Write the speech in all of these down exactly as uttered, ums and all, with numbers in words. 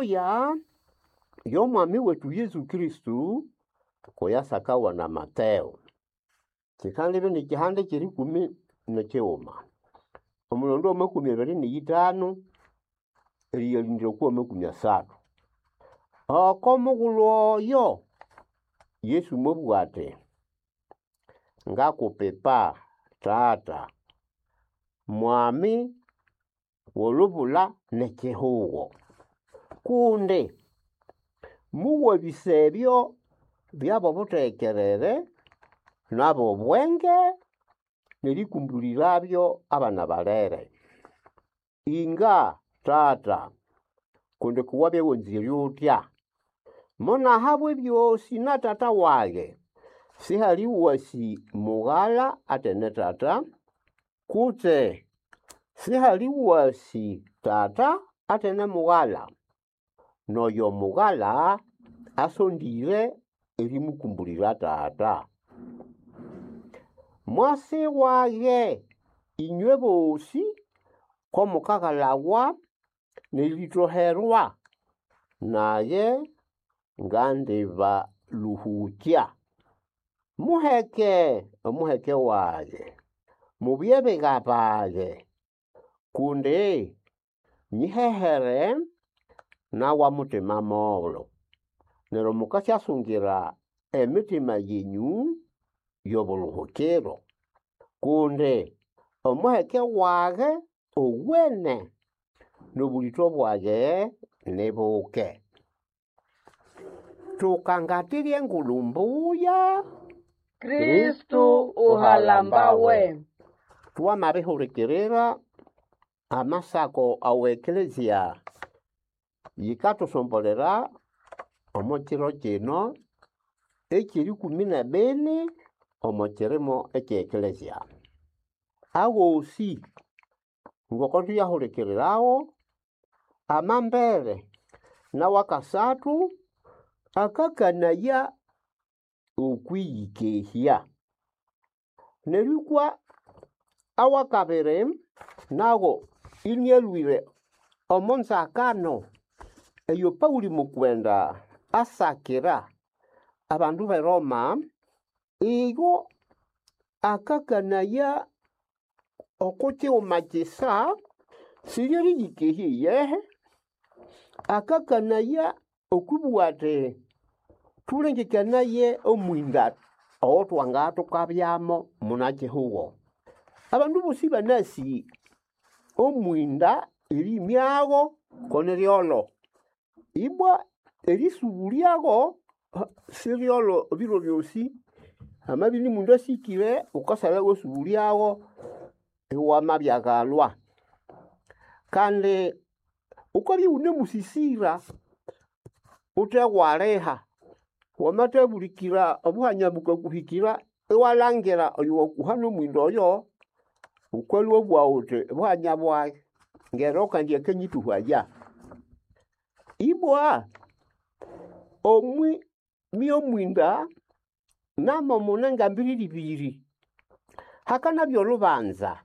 Mbuya y'omwami wetu Yesu Kristo kuyasakawa na Mateo. Kikandibya n'ekihanda ky'erikumi n'ekighuma. Omulondo w'amakumi abiri n'eyithanu eriyalindira okwa makumi asathu. Oko mughulhu oyo Yesu mwabugha ati, ngakupipa Tata, Mwami w'olubula n'ekihugo, kundi muwabĩsa ebyo by'abobutegerere n'ab'obwenge n'erĩkũmbũlĩrabyo abana balere. Inga Tata, kundi kuwabya wanzĩre utya. Monahabwa ebyosĩ na Tata wage. Sihali wasi mughala atene Tata, kutse sihali wasi Tata atene mughala, n'oyo mughala asondĩre erĩmũkũmbũlĩra Tata. Mwasi wage ĩnywe bosĩ ko mukagalawa n'erĩtoherwa, nage ngandibalũhũkya. Muheke omuheke wage, mubye biga bage, kundi nyihehere nawa mutima molo. Neryo mukasyasungira emitima yenyũ y'obuluhukiro, kundi omuheke wage owene n'obũlĩto bwage ni buke. Tukangatira Engulu Mbuya, Kristu uhalambawe. Twamabihurikirira amasako awa eklezia yikathusombolera omo kiro kino eky'erikumi n'ebini omo kirimo ekye eklezia. Agosi ngoko thuyahurikirirawo, amambere n'awakasathu akakanaya okwiyikehya. Neryo ikwa awakabiri nago inialhwire omo nzakano eyo Paũlĩ mukwenda asakira abandu b'eRoma, iyo akakanaya oko kighuma kisa siryeriyikehya iyehe, akakanaya okwibugha ati thulengekanaye omwinda owo thwangathukabyamu muna kihugo. Abandu bosi banasi omwinda erimyagho ko niryolho. Ibwa erisubulyago siryolho ebiro byosi, hamabya ini mundu asikire wukasalha iwasubulyago iwamabyaghalwa. Kandi wukabya iwunemusisira wuthe waliha, wamathabulikira obuhanya bukakuhikira iwalhangira oyo wakuha n'omwinda oyo, wukalhwa wabugha wuthi buhanya bwayi ngero kandi akanyithuhaya. Ibwa omwi my'omwinda namo mune ngambiriri ibiri. Hakanabya olubanza,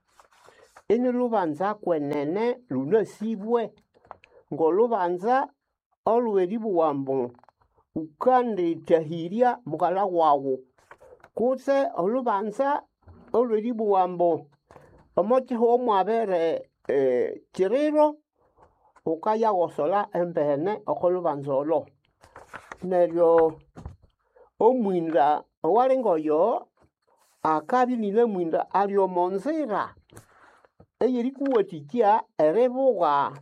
ini lubanza kwenene lunasibwe, ng'olubanza olw'eribugha ambu wukandithahirya mughalha waghu, kutse olubanza olw'eribugha ambu omo kihugho mwabere kiriro, wukayaghosolha embene oko lubanza olho. Neryo omwinda owali ng'oyo akabya inine mwinda ali omo nzira ey'erikuwathikya eribugha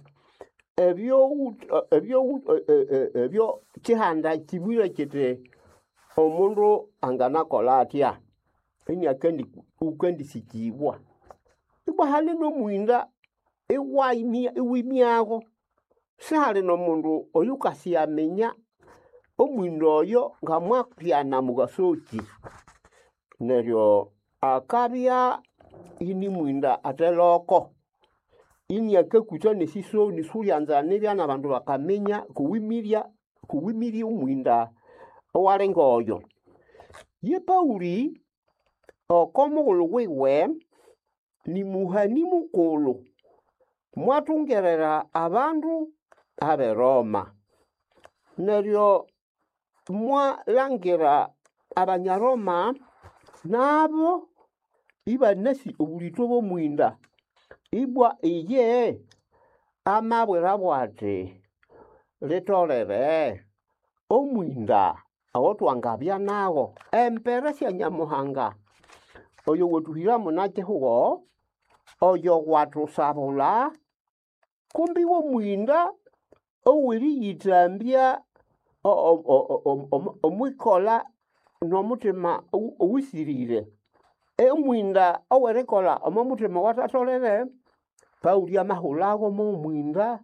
ebyo kihanda kibwire kiti omundu anganakolha athya iniakandi wukandisikibwa. Ibwa hali n'omwinda iwayimya iwimyagho, sihali n'omundu oyukasyaminya omwinda oyo ngamwabyana mughaso ki. Neryo akabya ini mwinda atheloko, iniakakwitha n'esisoni sulyanza nibya n'abandu bakaminya kuwimirya kuwimirye omwinda owali ng'oyo. Ye Paũlĩ oko mughulhu wiwe ni muhani mukulhu, mwathungerera abandu ab'eRoma. Neryo mwalangira Abanyaroma nabo ibanasi obulito bw'omwinda. Ibwa iye amabwirabo ati litolere omwinda owotwangabya nago embere sya Nyamuhanga oyo watuhira munakihugo oyo watusabula kumbi w'omwinda ow'eriyithambya omwikola n'omutima owisirire. Omwinda ow'erikolha omo muthima owathatholere, Paũli amahulhago mw'omwinda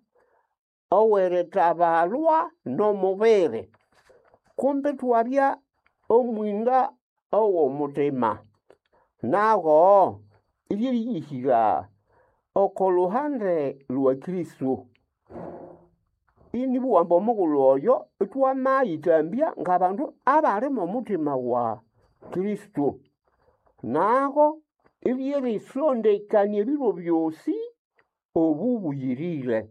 ow'erithabalwa n'omubiri. Kumbi ithwabya omwinda ow'omutima. Nago iryeriyihira oko luhande lwa Kristo. Inibugha ambu omughulhu oyo ithwamayithambya ng'abandu abali mw'omuthima wa Kristo. Nago iryerisondekania ebiro byosi obubuyirire.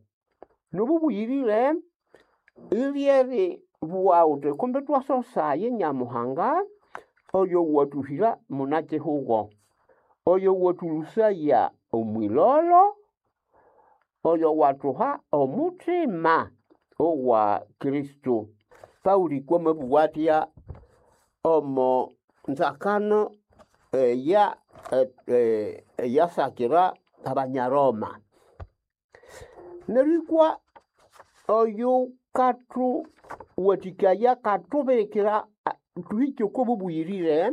N'obubuyirire iryeribugha ghuthi kumbi ithwasosaye Nyamuhanga oyo watuhira munakihugo, oyo watũlũsaya omwilolo, oyo watuha omuthima owa Kristo. Paũli kwamabugha athya omo nzakano eya eyasakira Abanyaroma. Neryo ikwa oyo kathuwathikaya akatubirikira thuhike oko bubuyirire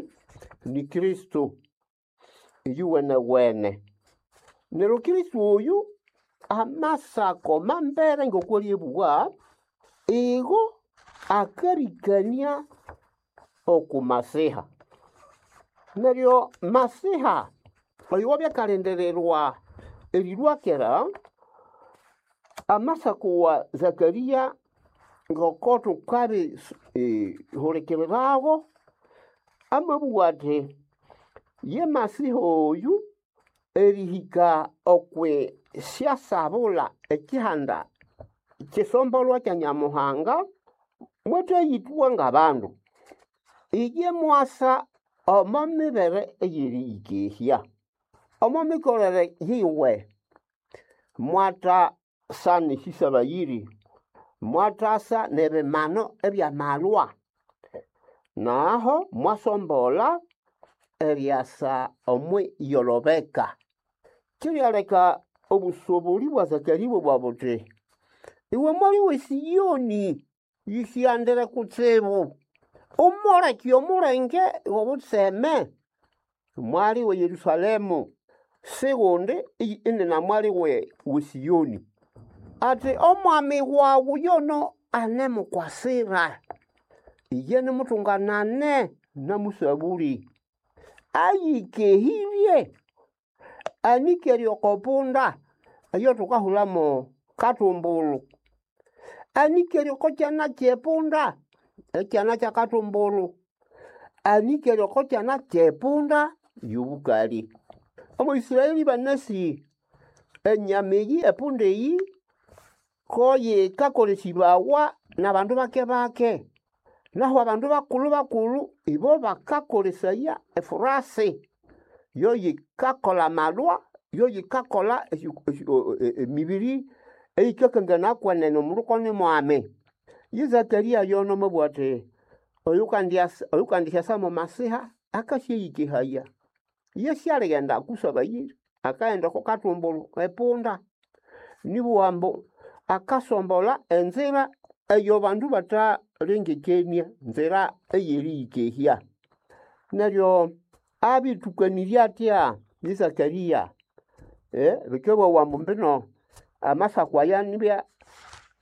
ni Kristo iyuwenewene. Neryo Kristo oyu amasako mambere ng'okw'alyabugha, igo akarikania oku Masiha. Neryo Masiha oyo wabya akalindirirwa erilhwa kera, amasako wa Zakaria ng'oko thukabi hulikirirago, amabugha athi ye Masiha oyu erihika okwi syasabula ekihanda kisombolwa kya Nyamuhanga, mwathayithwa ng'abandu. Iye mwasa omo mibere ey'eriyikehya. Omo mikolere yiwe mwathasa n'esisabayiri, mwathasa n'ebimano eby'amalwa, naho mwasombolha eryasa omwiyolobeka. Kiryaleka obusoboli bwa Zakaria ibwabugha buthi, iwe mwali w'eSiyoni, yisiyandire kutsibu, umuleke omulenge w'obutseme, mwali we Yerusalemu, sigundi inina mwali we weSiyoni. Ati omwami wawu yono anemukwasira, iye nimutunganane namusabuli, ayikehirye, anikere oko punda eyo thukahulamo katumbulu, anikere oko kyana ky'epunda, ekyana kya katumbulu, anikere oko kyana ky'epunda y'obukali. Omo Isiraeli banasi enyama eyi epunda eyi ko yikakolesibawa n'abandu bake-bake. Naho abandu bakulhu-bakulhu ibo bakakolesaya efurasi, yo yikakolha amalwa, yo yikakolha emibiri eyikakangana kwenene omundu ko ni mwami. Ye Zakaria yono amabugha athi oyukandisyasa mo Masiha akasyayikehaya. Iye syalighenda kusabayira, akaghenda oko katumbulu epunda. Nibugha ambu akasombolha enzira eyo bandu bathalengekania, nzira ey'eriyikehya. Neryo abithukanirya athya ye Zakaria, bikabughawa ambu mbino amasako aya nibya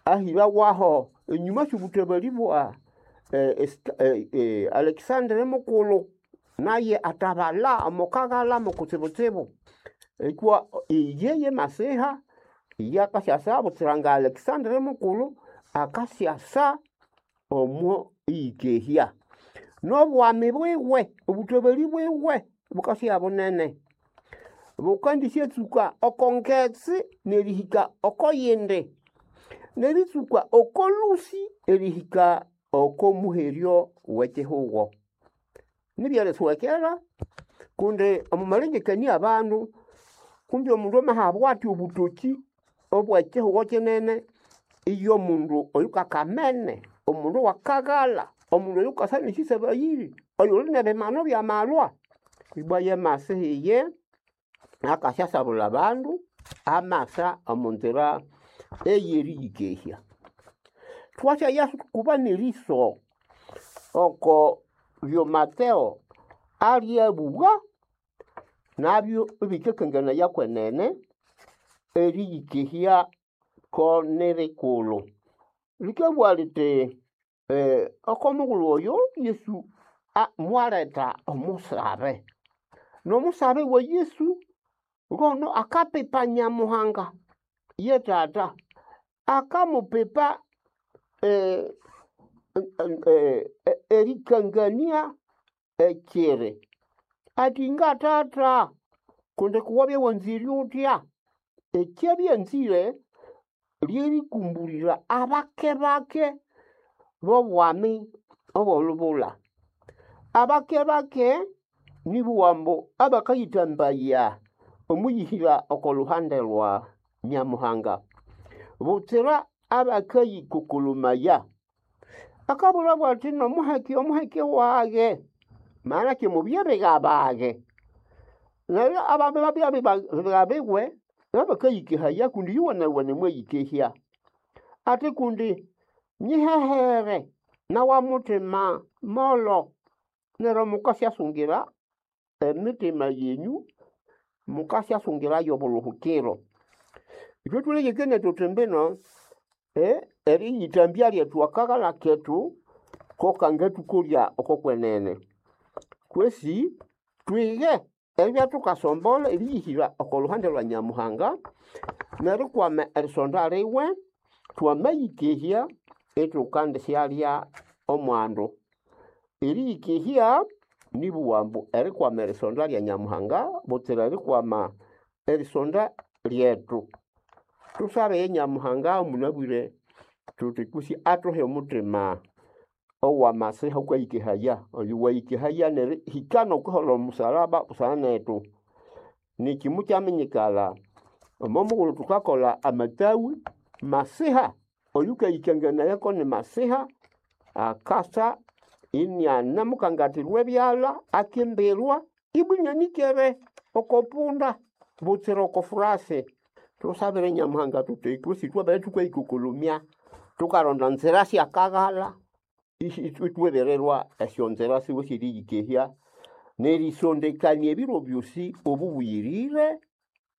ahĩrawaho enyuma sy'obuthabali bwa Alexandre mukulhu, naye athabalha omo kaghalha mo kutsibutsibu. Ikwa iye ye Masiha iye akasyasa butsira nga Alexandre mukulhu akasyasa omo iyikehya. N'obwami bwiwe, obuthabali bwiwe bukasya bunene. Bukandisyatsuka oko ngetsi n'erihika oko yindi. Neritsuka oko lũsĩ erihika oko muheryo w'ekihugo. Nibyeriswekera kundi omo malengekania abandu kumbi omundu amahabwa athi obutoki obw'ekihugo kinene, iyo mundu oyukakamene, omundu owakaghalha, omundu oyukasa n'esĩsabayĩrĩ, oyuli n'ebimanu by'amalwa. Ibwa ye Masihi iye akasyasabulha abandu amasa omo nzira ey'eriyikehya. Thwasyaya kuba n'eriso oko byo Mateo alyabugha nabyo ibikakanganaya kwenene eriyikehya ko nirikulhu. Likabugha lithi eh, oko mughulhu oyo Yesu a- mwaletha omusabe, n'omusabe wa Yesu ngono akapipa Nyamuhanga ye Tata, akamupipa eh, eh, eh, erikangania ekiri ati nga Tata kundi kuwabya wanzire utya ekyabyanzire lyerikumbulira abake bake b'obwami obw'olubula. Abake bake nibugha ambu abakayithambaya omwiyihira oko luhande lwa Nyamuhanga butsira abakayikukulumaya. Akabulabwa athi nomuheke omuheke wage maanake mubye biga bage. Neryo abandu babya biga biwe babakayikehaya kundi yuwenewene mwayikehya. Ati kundi nyihehere nawa mutima molo neryo mukasyasungira emitima yenyu mukasyasungirayo obuluhukiro. Ithwe thulengekania thuthi mbino eh, eriyithambya lyethu akaghalha kethu ko kangathukolya oko kwenene. Kwesi twighe eribya thukasombolha eriyihira oko luhande lwa Nyamuhanga nerikwama erisonda liwe twamayikehya ithukandisyalya omwandu. Eriyikehya nibugha ambu erikwama erisonda lya Nyamuhanga butsira erikwama erisonda lyethu. Thusabe Nyamuhanga omunabwire thuthi kwisi athuhe omuthima owamasiha okayikehaya, oyo wayikehaya nerihika n'okwiholha omusalaba busana nethu. Niki mukyaminyikala omo mughulhu thukakolha amathawi masiha oyukayikanganayako ni masiha akasa inianamukangathirwa ebyalha akimbirwa ibwa inianikere oko punda butsira oko furasi. Thusabire Nyamuhanga thuthi kwisi thwabere thukayikukulumya thukaronda nzira syakaghalha ithwebererwa esyonzira siwe syeriyikehya nerisondekania ebiro byosi obubuyirire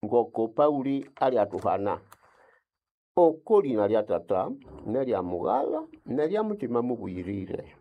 ngoko Pauli alyathuhana. Oko lina lya Tata nerya Mughalha nerya Mutima mubuyirire.